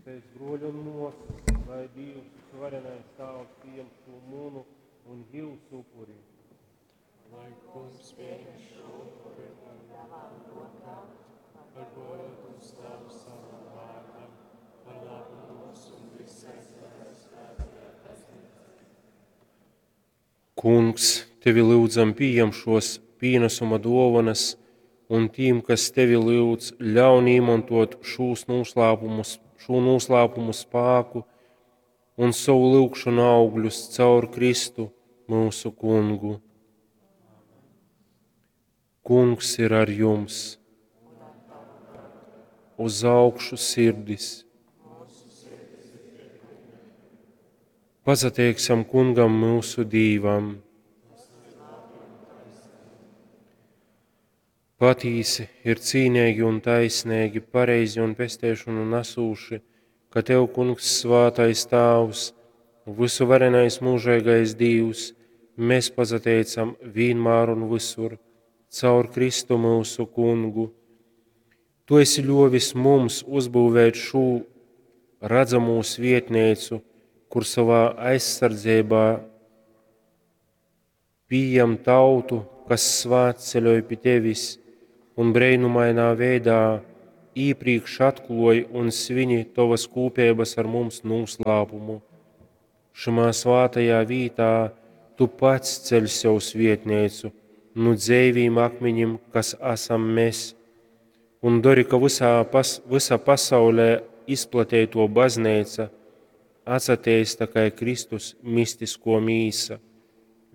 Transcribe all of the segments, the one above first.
Es, bruoļi un muosys, lai Dīvs, Vysuvarenais Tāvs, pījam šū munu un jiusu upuri. Lai Kungs pieņem šo upuri no tavām rokām, par godu un slavu savam vārdam, par labu mums un visai tavai svētajai baznīcai. Kungs, tevi lyudzam, pījam šos pīnesuma duovanas, un tīm, kas tevi lyudz, ļaun īmantot šūs noslēpumus, šo noslēpumu spēku un savu lyugšanu augļus caur Kristu, mūsu Kungu. Kungs ir ar jums! Uz augšu sirdis! Pasateiksim Kungam mūsu Dīvam! Patīsi ir cīnīgi un taisnīgi, pareizi un pesteišanu nesūši, ka Tev, Kungs, svātais Tāvs, vysuvarenais mūžīgais Dīvs, mēs pasateicam vienmēr un visur, caur Kristu mūsu Kungu. Tu esi ļovis mums uzbūvēt šo redzamo svietnīcu, kur savā aizsardzībā pījam tautu, kas svētceļoj pie tevis un breinumainā veidā īpriekš atklāj un svini tovas kūpības ar mums noslēpumu. Šimā svātajā vītā tu pats ceļ sev svietnīcu, nu dzeivīm akmeņim, kas esam mēs, un dari, ka visā pas, visa pasaulē izplatīto baznīca atsateista kā Kristus mistisko mīsa,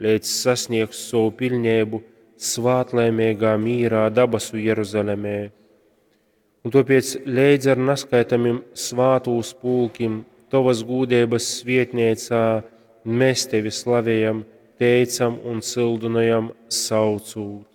līdz sasniegs savu pilnību svātlaimīgā mīrā dabasu Jeruzalemē. Un tāpēc leidz ar naskaitamiem svātūs pulkim tovas gūdības svietniecā mēs tevi slavējam, teicam un sildinājam saucūt.